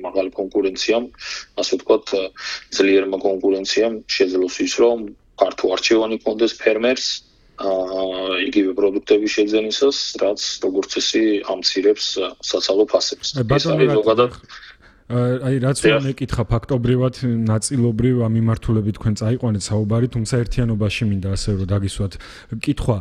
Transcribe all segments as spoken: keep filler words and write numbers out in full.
მაღალი კონკურენციამ, ასე ვთქვათ, ძლიერმა კონკურენციამ შეძლოს ის, რომ ფართო არჩევანი კონდეს ფერმერს, იგივე პროდუქტები შეძენისას, რაც როგორც ისე ამცირებს საცალო ფასებს. ეს არის ზოგადად აი რაც რომ მეკითხა ფაქტობრივად ნაწილობრივ ამ მიმართულებით თქვენ წაიყვანეთ საუბარი, თუმცა ერთიანობაში მინდა ასე რომ დაგისვათ კითხვა.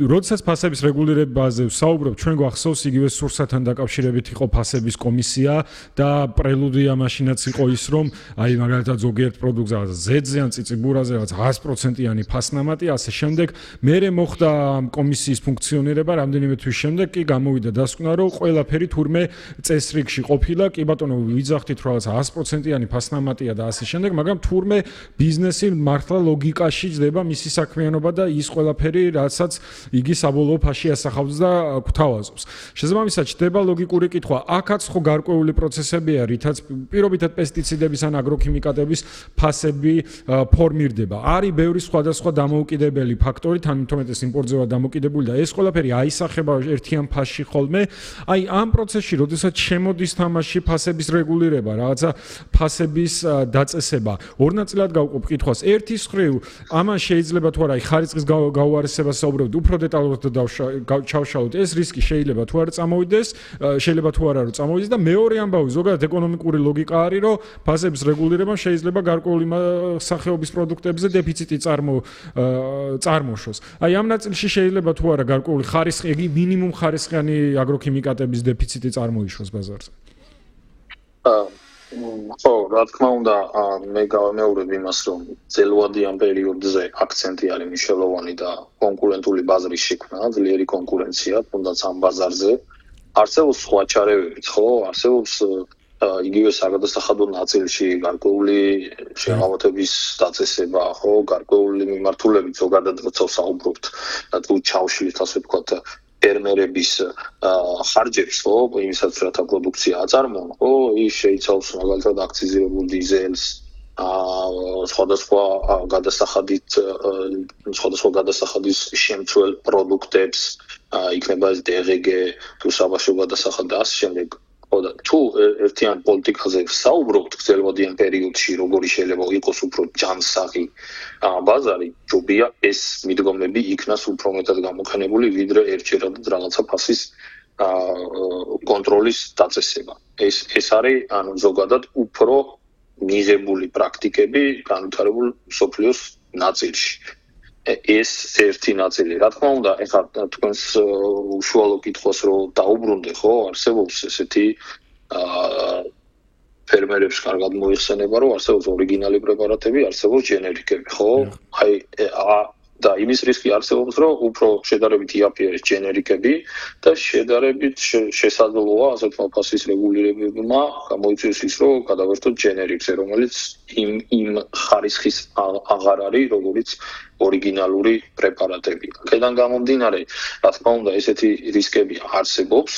როდესაც ფასების რეგულირებაზე ვსაუბრობ, ჩვენ გვახსოვს იგივე სურსათთან დაკავშირებით იყო ფასების კომისია და პრელუდია მაშინაც იყო ის, რომ აი მაგალითად ზოგიერთ პროდუქტზე რაღაც ზედზე ან წიწიბურაზე რაღაც ათი პროცენტიანი ფასნამატი, ასე შემდეგ. მერე მოხდა კომისიის ფუნქციონირება, რამდენიმე თვის შემდეგ კი გამოვიდა დასკვნა, რომ ყველაფერი თურმე წესრიგში ყოფილა, კი ბატონო ვიძახთით რომ რაღაც ათი პროცენტიანი ფასნამატია და ასე შემდეგ, მაგრამ თურმე ბიზნესი მართლა ლოგიკაში ჯდება მისი საქმიანობა და ის ყველაფერი, რასაც იგი საბოლოო ფასში ასახავს და გვთავაზობს. შესაბამისად, ჯდება ლოგიკური კითხვა, აქაც ხო გარკვეული პროცესებია, რითაც პირობითად პესტიციდების ან აგროქიმიკატების ფასები ფორმირდება. არის ბევრი სხვადასხვა დამოუკიდებელი ფაქტორი, თან თუმეტეს იმპორტზე ვარ დამოკიდებული და ეს ყველაფერი აისახება ერთიან ფასში ხოლმე. აი ამ პროცესში, როდესაც შემოდის თამაში ფასების რეგულირება, რაღაცა ფასების დაწესება. ორ ნაწილად გავყოფ კითხვას. ერთის მხრივ, ამან შეიძლება თუ არა ხარისხის გაუარესებას საუბრობთ, უფრო დეტალურად ჩავშალოთ. ეს რისკი შეიძლება თუ არა წამოვიდეს, შეიძლება თუ არა რომ წამოვიდეს და მეორე ამბავი, ზოგადად ეკონომიკური ლოგიკა არის, რომ ფასების რეგულირება შეიძლება გარკვეული სახეობის პროდუქტებზე დეფიციტი წარმო წარმოშოს. აი ამ ნაწილში შეიძლება თუ არა გარკვეული ხარისხი, იგი მინიმუმ ხარისხიანი აგროქიმიკატების დეფიციტი წარმოიშოს ბაზარზე. ხო, რა თქმა უნდა, მე გავამეორებ იმას, რომ ძელვადიან პერიოდზე აქცენტი არის მნიშვნელოვანი და კონკურენტული ბაზრის შექმნა, ძლიერი კონკურენცია, თუნდაც ამ ბაზარზე. არსებობს სხვა ჩარევებიც, ხო? არსებობს იგივე საგადასახადო ნაწილში გარკვეული შეღავათების დაწესება, ხო, გარკვეული მიმართულებით ზოგადად როცა ვსაუბრობთ, თუ ჩავშლით, ასე ვთქვათ, ფერმერების ხარჯებს, ხო, იმისაც რათა პროდუქცია აწარმოონ, ხო, ის შეიცავს მაგალითად აქციზირებულ დიზელს, სხვადასხვა გადასახადით, სხვადასხვა გადასახადის შემცველ პროდუქტებს, იქნება ეს დე ღე გე, თუ საბავშვო გადასახადი და ასე შემდეგ. და თუ ერთიან პოლიტიკაზე საუბრობთ გრძელვადიან პერიოდში, როგორი შეიძლება იყოს უფრო ჯანსაღი ბაზარი, ჯობია ეს მიდგომები იქნას უფრო მეტად გამოყენებული, ვიდრე ერთჯერადად რაღაცა ფასის კონტროლის დაწესება. ეს ეს არის ანუ ზოგადად უფრო მიღებული პრაქტიკები განვითარებულ მსოფლიოს ნაწილში. ეს ერთი ნაწილი. რა თქმა უნდა, ეხლა თქვენს უშუალო კითხვას რო დაუბრუნდე, ხო, არსებობს ესეთი ფერმერებს კარგად მოიხსენება, რომ არსებობს ორიგინალი პრეპარატები, არსებობს ჯენერიკები, ხო? აი და იმის რისკი არსებობს, რომ უფრო შედარებით იაფია ეს ჯენერიკები და შედარებით შესაძლოა ასეთ ფასის რეგულირებებმა გამოიწვიოს ის, რომ გადავერთოთ ჯენერიკზე, რომელიც იმ იმ ხარისხის აღარ არის, როგორც ორიგინალური პრეპარატები. აქედან გამომდინარე, რა თქმა უნდა, ესეთი რისკები არსებობს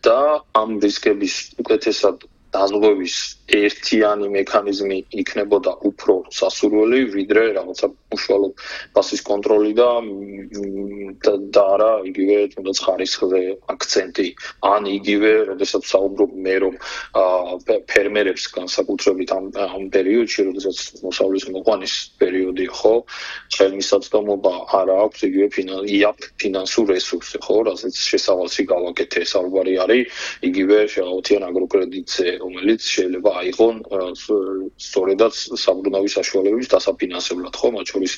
და ამ რისკების უკეთესად დაზღვევის ერთიანი მექანიზმი იქნებოდა უფრო სასურველი, ვიდრე რაღაცა უშუალო ფასის კონტროლი და და არა იგივე თუნდაც ხარისხზე აქცენტი. ან იგივე, როდესაც საუბრობ მე რომ ფერმერებს განსაკუთრებით ამ ამ პერიოდში, როდესაც მოსავლის მოყვანის პერიოდი, ხო, ხელმისაწვდომობა არ აქვს იგივე ფინანსურ რესურსზე, ხო, რასაც შესავალში გავაკეთე, საუბარი არის იგივე შეღავათიან აგროკრედიტზე, რომელიც შეიძლება აიღონ სწორედაც საბრუნავი საშუალებების დასაფინანსებლად, ხო, მათ შორის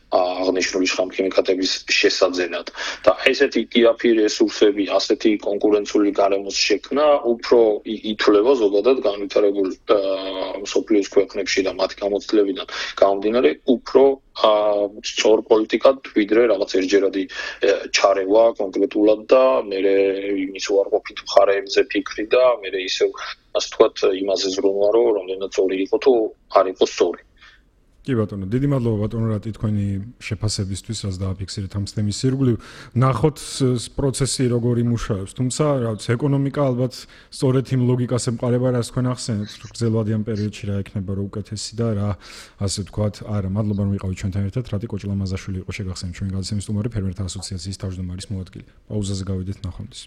აღნიშნული შხამქიმიკატების შესაძენად. და ესეთი იაფი რესურსები, ასეთი კონკურენციული გარემოს შექმნა უფრო ითვლება ზოგადად განვითარებულ მსოფლიოს ქვეყნებში და მათი გამოცდილებიდან გამომდინარე უფრო სწორ პოლიტიკად, ვიდრე რაღაც ერთჯერადი ჩარევა კონკრეტულად და მე იმის უარყოფით მხარეებზე ფიქრი და მე ისევ ასე ვთქვათ, იმაზე ზრუნვა, რომ რამდენად სწორი იყო თუ არ იყო სწორი. კი ბატონო, დიდი მადლობა ბატონო რატი თქვენი შეფასებისთვის, რაც დააფიქსირეთ ამ თემის ირგვლივ. ნახოთ პროცესი როგორ იმუშავებს, თუმცა რა ვიცი, ეკონომიკა ალბათ სწორედ იმ ლოგიკას ემყარება, რაც თქვენ ახსენეთ, გრძელვადიან პერიოდში რა ექნება რო უკეთესი და რა, ასე ვთქვათ, არა, მადლობა რომ იყავით ჩვენთან ერთად, რატი კოჭლამაზაშვილი იყო შეგახსენეთ ჩვენი გადაცემის სტუმარი, ფერმერთა ასოციაციის თავმჯდომარის მოადგილე. პაუზაზე გავიდეთ, ნახვამდის.